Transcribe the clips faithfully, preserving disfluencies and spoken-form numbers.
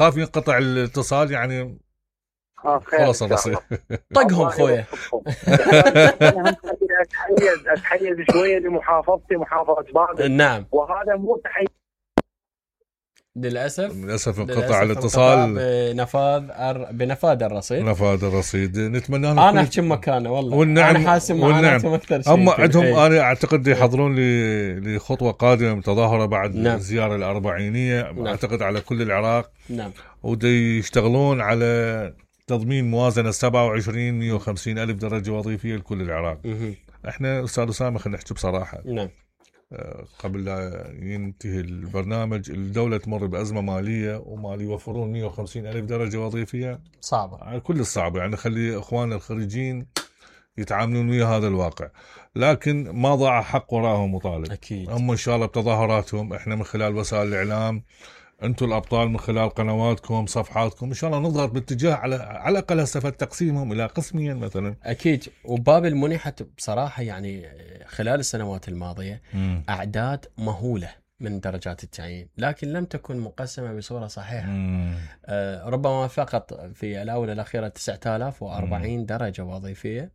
خاف ينقطع الاتصال يعني. خلاص الرصيد طقهم خويا. اتحيز اتحيز شويه لمحافظتي محافظه بابل. نعم. وهذا مو تحيز للاسف للاسف انقطع الاتصال بنفاذ أر... بنفاذ الرصيد نفاذ الرصيد. نتمنى لهم انا احكي مكانه والله والنعم انا حاسس معاناتهم اكثر شيء. هم عندهم انا اعتقد يحضرون ل... لخطوه قادمه متظاهره بعد نعم. الزياره الاربعينيه نعم. اعتقد على كل العراق نعم. ودي يشتغلون على تضمين موازنه سبعة وعشرين مئة وخمسين الف درجه وظيفيه لكل العراق. مه. احنا استاذ اسامه خلينا نحكي بصراحه نعم. قبل لا ينتهي البرنامج الدولة تمر بأزمة مالية وما يوفرون مئة وخمسين ألف درجة وظيفية صعبة كل الصعبة يعني خلي إخواننا الخريجين يتعاملون ويا هذا الواقع. لكن ما ضاع حق وراهم مطالب أكيد. هم إن شاء الله بتظاهراتهم إحنا من خلال وسائل الإعلام أنتم الأبطال من خلال قنواتكم صفحاتكم إن شاء الله نضغط باتجاه على على الأقل هسه تقسيمهم إلى قسمين مثلا. أكيد. وبابل منحت بصراحة يعني خلال السنوات الماضية م. أعداد مهولة من درجات التعيين لكن لم تكن مقسمة بصورة صحيحة. آه ربما فقط في الآونة الأخيرة تسعة آلاف وأربعين درجة وظيفية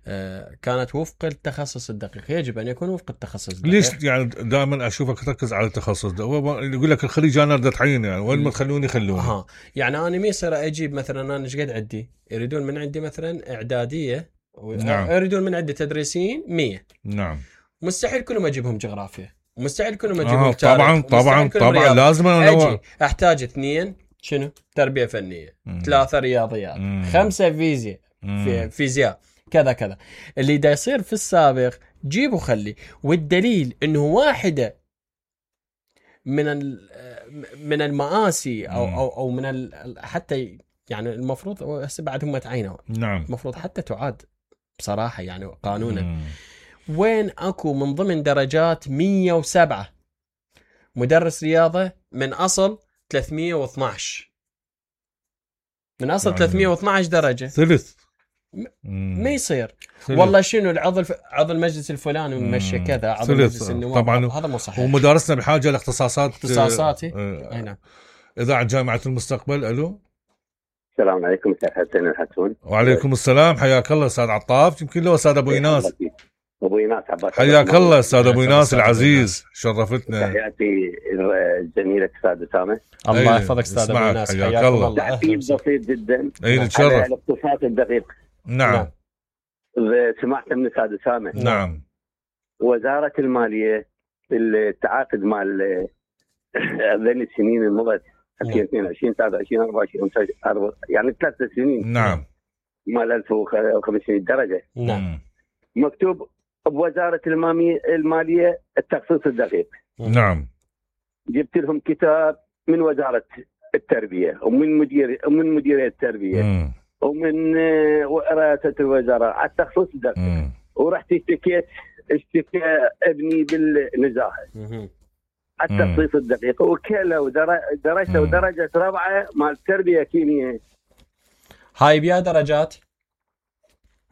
آه كانت وفق التخصص الدقيق. يجب أن يكون وفق التخصص الدقيق. ليش يعني دائما أشوفك تركز على التخصص ده يقول لك الخريج أنا أريد أتعين يعني وين ما تخلوني خلوني. ها يعني أنا ما يصير أجيب مثلا أنا إيش قد عندي يريدون من عندي مثلا إعدادية نعم. يريدون من عندي تدريسيين مية. نعم. مستحيل كلهم أجيبهم جغرافيا مستحيل كلهم آه اجيبهم طبعا طبعا طبعا لازم انا احتاج اثنين شنو تربيه فنيه مم. ثلاثه رياضيات مم. خمسه فيزياء في فيزياء كذا كذا. اللي دا يصير في السابق جيبوا خلي. والدليل انه واحده من من المآسي او او او من حتى يعني المفروض هسه بعد هم تعينوا نعم المفروض حتى تعاد بصراحه يعني قانونا مم. وين اكو من ضمن درجات مية وسبعة مدرس رياضة من أصل ثلاثمية واثناشر من أصل يعني ثلاثمية واثناشر درجة ثلث ما يصير ثلث. والله شنو العضو الف... عضو المجلس الفلاني ممشي كذا عضو المجلس النواب طبعا هذا مو صحيح. ومدارسنا بحاجة لاختصاصات اختصاصاتي آه نعم. إذاعة جامعة المستقبل. ألو السلام عليكم أستاذ حسين الحسون. وعليكم السلام حياك الله أستاذ عطاف يمكن له أستاذ أبو إيناس. أبو إيناس عباس حياك الله أستاذ أبو إيناس العزيز شرفتنا. تحياتي زميلك أستاذ أسامة. الله يحفظك أستاذ أبو إيناس حياك الله. تعقيب بسيط جدا أي نتشرف. على الاقتصاد الدقيق. نعم. سمعت من أستاذ أسامة. نعم. وزارة المالية التعاقد مال ذي السنين المضت ألفين واثنين وعشرين ثلاثة وعشرين أربعة وعشرين يعني ثلاث سنين. نعم. مال ألف وخمسمائة درجة. نعم. مكتوب بوزارة المالية التخصيص الدقيق. نعم. جبت لهم كتاب من وزارة التربية ومن مدير ومن مديرية التربية مم. ومن رئاسة الوزراء على التخصيص الدقيق. مم. ورحت اشتكيت اشتكى ابني بالنزاهة على التخصيص الدقيق وكله ودرجته ودرجة رابعة مال التربية كيمياء. هاي بيا درجات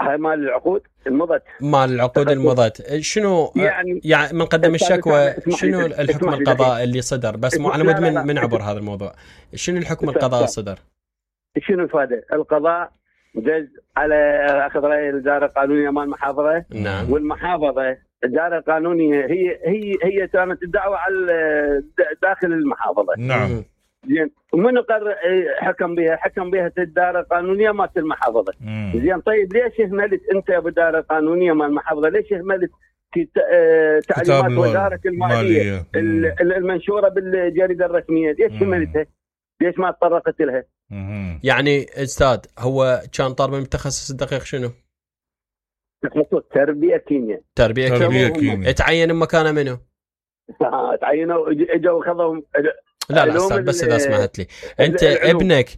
هاي مال العقود المضت مال العقود المضت. شنو يعني, يعني من قدم الشكوى شنو الحكم القضاء اللي صدر بس مو على مود من, من عبر هذا الموضوع شنو الحكم القضاء صدر شنو الفائدة القضاء جز على أخذ رأي الإدارة القانونية مال المحافظة. نعم. والمحافظة الإدارة القانونية هي هي هي كانت الدعوة على داخل المحافظة. نعم. زين ومن قرر حكم بها حكم بها الإدارة القانونية مال المحافظة. زين طيب ليش اهملت أنت يا إدارة القانونية مال المحافظة ليش اهملت تعليمات وزارة المالية المنشورة بالجريدة الرسمية ليش اهملتها ليش ما تطرقت لها؟ يعني استاذ هو كان طالب من التخصص الدقيق شنو؟ تخصص تربية كيمياء. تربية كيمياء. تعين مكانه منه؟ تعينوا اجوا خذهم. لا لا استاذ بس اذا سمحت لي انت ابنك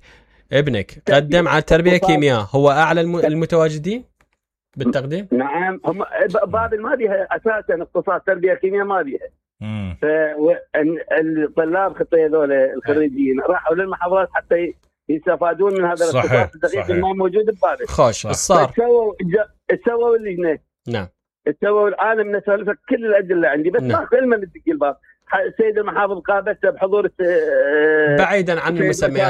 ابنك قدم على تربية كيمياء هو اعلى المتواجدين بالتقديم؟ نعم هم بابل ما بيها اساسا اقتصاد تربية كيمياء ما بيها. فالطلاب خطيه هذول الخريجين راحوا للمحافظات حتى يستفادون من هذا الاقتصاد الدقيق اللي ما موجود ببابل. خوش صار سووا سووا اللجنه. نعم. سووا العالم نسولفك كل الادله عندي بس ماكو علم بدق الباب السيد المحافظ قابلته بحضور بعيدا عن المسميات